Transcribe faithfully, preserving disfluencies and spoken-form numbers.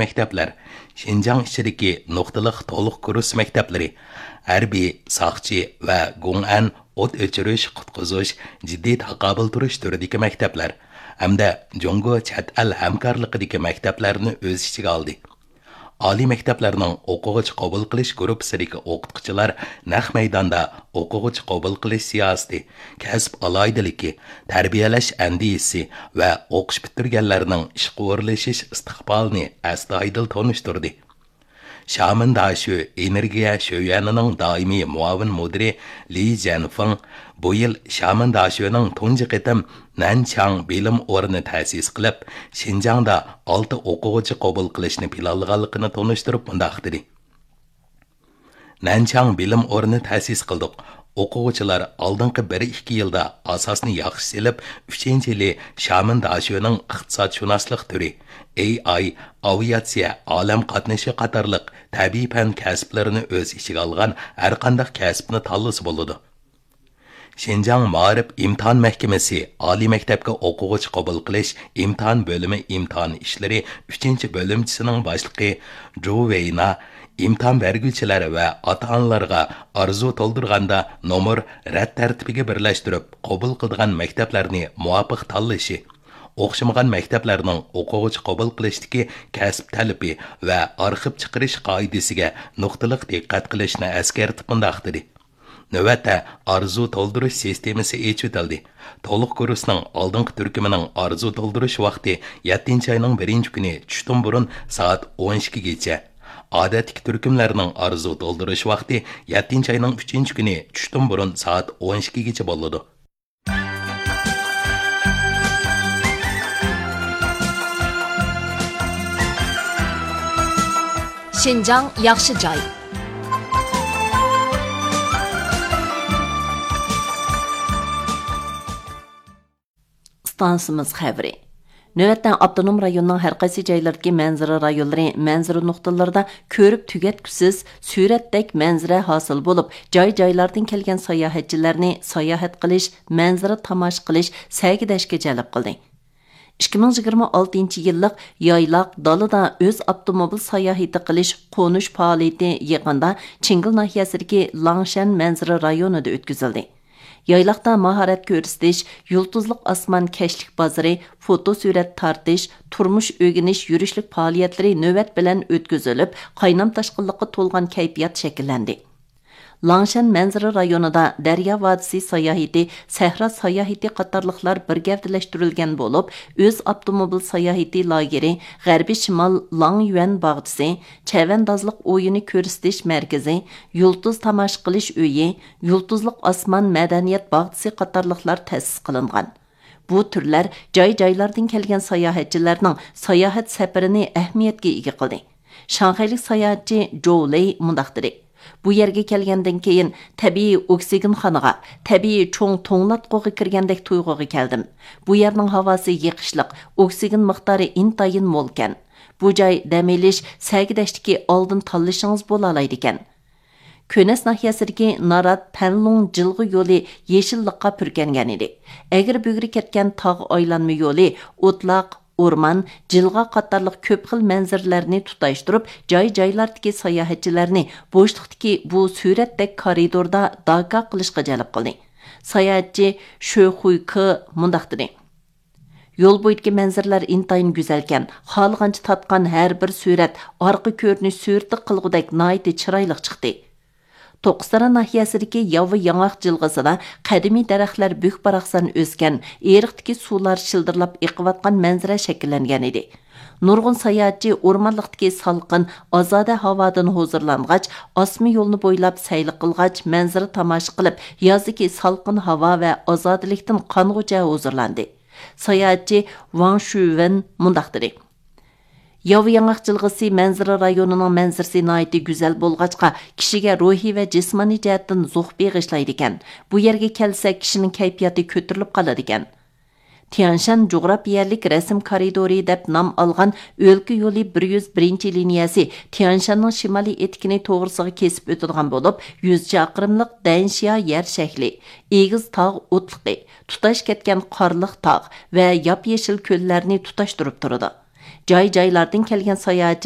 مەكتەپلەر، شىنجاڭ ئىچىدىكى نۇقتىلىق تولۇق كۇرس مەكتەپلىرى، ھەربىي، ساقچى ۋە گۇڭئەن، ئوت ئۆچۈرۈش، قۇتقۇزۇش، جىددىي تاقابىل تۇرۇش تۈرىدىكى مەكتەپلەر ھەمدە جۇڭگو چەت ئەل ھەمكارلىقىدىكى مەكتەپلەرنى ئۆز ئىچىگە ئالدى. ئالىي مەكتەپلەرنىڭ ئوقۇغۇچى قوبۇل قىلىش گۇرۇپپىسىدىكى ئوقۇتقۇچىلار نەق مەيداندا ئوقۇغۇچى قوبۇل قىلىش سىياسىتى، كەسىپ ئالاھىدىلىكى، تەربىيەلەش ئەندىزىسى ۋە ئوقۇش پۈتتۈرگەنلەرنىڭ ئىشقا ئورۇنلىشىش ئىستىقبالىنى ئەستايىدىل تونۇشتۇردى. شامېن داشۆ ئېنېرگىيە شۆيۈەنىنىڭ دائىمىي مۇئاۋىن مۇدىرى لى جيەنفېڭ بۇ يىل شامېن داشۆنىڭ تۇنجى قېتىم نەنچاڭ بىلىم ئورنى تەسىس قىلىپ، شىنجاڭدا ئالتە ئوقۇغۇچى قوبۇل قىلىشنى پىلانلىغانلىقىنى تونۇشتۇرۇپ مۇنداق دېدى: نەنچاڭ بىلىم ئورنى تەسىس قىلدۇق. ئوقۇغۇچىلار ئالدىنقى بىر ئىككى يىلدا ئاساسنى ياخشى سېلىپ، ئۈچىنچى يىلى شامېن داشۆنىڭ ئىقتىسادشۇناسلىق تۈرى، ئېي ئاي، ئاۋىئاتسىيە، ئالەم قاتنىشى قاتارلىق تەبىئىي پەن كەسىپلىرىنى ئۆز ئىچىگە ئالغان ھەرقانداق كەسىپنى تاللىسا بولىدۇ. شىنجاڭ مائارىپ ئىمتىھان مەھكىمىسى ئالىي مەكتەپكە ئوقۇغۇچى قوبۇل قىلىش ئىمتىھان بۆلۈمى ئىمتىھان ئىشلىرى ئۈچىنچى بۆلۈمچىسىنىڭ باشلىقى جۇ ۋېينا ئىمتىھان بەرگۈچىلەر ۋە ئاتا-ئانىلارغا ئارزۇ تولدۇرغاندا نومۇر رەت تەرتىپىگە بىرلەشتۈرۈپ قوبۇل قىلىدىغان مەكتەپلەرنى مۇۋاپىق تاللىشى، ئوخشىمىغان مەكتەپلەرنىڭ ئوقۇغۇچى قوبۇل قىلىشتىكى كەسىپ تەلىپى ۋە ئارخىپ چىقىرىش قائىدىسىگە نۇقتىلىق دىققەت قىلىشنى ئەسكەرتىپ مۇنداق دېدى: نۆۋەتتە ئارزۇ تولدۇرۇش سىستېمىسى ئېچىۋېتىلدى. تولۇق كۇرسنىڭ ئالدىنقى تۈركۈمىنىڭ ئارزۇ تولدۇرۇش ۋاقتى يەتتىنچى ئاينىڭ بىرىنچى كۈنى چۈشتىن بۇرۇن سائەت ئون ئىككىگىچە، ئادەتتىكى تۈركۈملەرنىڭ ئارزۇ تولدۇرۇش ۋاقتى يەتتىنچى ئاينىڭ ئۈچىنچى كۈنى چۈشتىن بۇرۇن سائەت ئون ئىككىگىچە بولىدۇ. شىنجاڭ ياخشى جاي. ئىستانسىمىز خەۋىرى. نۆۋەتتە ئاپتونوم رايوننىڭ ھەر قايسى جايلىرىدىكى مەنزىرە رايونلىرى، مەنزىرە نۇقتىلىرىدا كۆرۈپ تۈگەتكۈسىز سۈرەتتەك مەنزىرە ھاسىل بولۇپ، جاي-جايلاردىن كەلگەن ساياھەتچىلەرنى ساياھەت قىلىش، مەنزىرە تاماشا قىلىش، سەگىدەشكە جەلپ قىلدى. ئىككى مىڭ يىگىرمە ئالتىنچى يىللىق يايلاق، دالىدا ئۆز ئاپتوموبىل ساياھىتى قىلىش قونۇش پائالىيىتى يېقىندا چىڭگىل ناھىيەسىدىكى لاڭشەن مەنزىرە رايونىدا ئۆتكۈزۈلدى. يايلاقتا ماھارەت كۆرسىتىش، يۇلتۇزلۇق ئاسمان كەچلىك بازىرى، فوتو سۈرەت تارتىش، تۇرمۇش ئۆگىنىش يۈرۈشلۈك پائالىيەتلىرى نۆۋەت بىلەن ئۆتكۈزۈلۈپ، قاينام تاشقىنلىققا تولغان كەيپىيات شەكىللەندى. لاڭشەن مەنزىرە رايونىدا دەريا ۋادىسى ساياھىتى، سەھرا ساياھىتى قاتارلىقلار بىر گەۋدىلەشتۈرۈلگەن بولۇپ، ئۆز ئاپتوموبىل ساياھىتى لاگېرى، غەربىي شىمال لاڭيۈەن باغچىسى، چەۋەندازلىق ئويۇنى كۆرسىتىش مەركىزى، يۇلتۇز تاماشا قىلىش ئۆيى، يۇلتۇزلۇق ئاسمان مەدەنىيەت باغچىسى قاتارلىقلار تەسىس قىلىنغان. بۇ تۈرلەر جاي-جايلاردىن كەلگەن ساياھەتچىلەرنىڭ ساياھەت سەپىرىنى ئەھمىيەتكە ئىگە قىلدى. شاڭخەيلىك ساياھەتچى جوۋ لېي مۇنداق دېدى: بۇ يەرگە كەلگەندىن كېيىن تەبىئىي ئوكسىگېنخانىغا، تەبىئىي چوڭ توڭلاتقۇغا كىرگەندەك تۇيغۇغا كەلدىم. بۇ يەرنىڭ ھاۋاسى يېقىشلىق، ئوكسىگېن مىقدارى ئىنتايىن مولكەن. بۇ جاي دەم ئېلىش، سەگىدەشتىكى ئالدىن تاللىشىڭىز بولالايدىكەن. كۆنەس ناھىيەسىدىكى نارات پەنلۇڭ جىلغا يولى يېشىللىققا پۈركەنگەن ئىدى. ئەگرى بۈگرى كەتكەن تاغ ئايلانما يولى ئوتلاق، ئورمان، جىلغا قاتارلىق كۆپ خىل مەنزىرىلەرنى تۇتاشتۇرۇپ، جاي-جايلاردىكى ساياھەتچىلەرنى بوشلۇقتىكى بۇ سۈرەتتەك كارىدوردا داكا قىلىشقا جەلپ قىلدى. ساياھەتچى شۆ خۇي كې مۇنداق دېدى: يول بويىدىكى مەنزىرىلەر ئىنتايىن گۈزەلكەن، خالىغانچە تارتقان ھەر بىر سۈرەت ئارقا كۆرۈنۈش سۈرىتى قىلغۇدەك ناھايىتى چىرايلىق چىقتى. توققۇزتارا ناھىيەسىدىكى ياۋا ياڭاق جىلغىسىدا قەدىمىي دەرەخلەر بۈك-باراقسان ئۆسكەن، ئېرىقتىكى سۇلار شىلدىرلاپ ئېقىۋاتقان مەنزىرە شەكىللەنگەن ئىدى. نۇرغۇن ساياھەتچى ئورمانلىقتىكى سالقىن، ئازادە ھاۋادىن ھۇزۇرلانغاچ، ئاسما يولنى بويلاپ سەيلە قىلغاچ، مەنزىرە تاماشا قىلىپ، يازدىكى سالقىن ھاۋا ۋە ئازادىلىكتىن قانغۇچە ھۇزۇرلاندى. ساياھەتچى ۋاڭ شۈۋېن مۇنداق دېدى: ياۋا ياڭاق جىلغىسى مەنزىرە رايونىنىڭ مەنزىرىسى ناھايىتى گۈزەل بولغاچقا، كىشىگە روھىي ۋە جىسمانىي جەھەتتىن زوق بېغىشلايدىكەن. بۇ يەرگە كەلسە، كىشىنىڭ كەيپىياتى كۆتۈرۈلۈپ قالىدىكەن. تيەنشان جۇغراپىيەلىك رەسىم كارىدورى دەپ نام ئالغان ئۆلكە يولى بىر يۈز بىرىنچى لىنىيەسى تيەنشاننىڭ شىمالىي ئېتىكىنى توغرىسىغا كېسىپ ئۆتىدىغان بولۇپ، يۈز چاقىرىملىق دەنشيا يەر شەكلى، ئېگىز تاغ ئوتلۇقى، تۇتاش كەتكەن قارلىق تاغ ۋە ياپيېشىل كۆللەرنى تۇتاشتۇرۇپ تۇرىدۇ. جاي-جايلاردىن كەلگەن ساياھەتچىلەر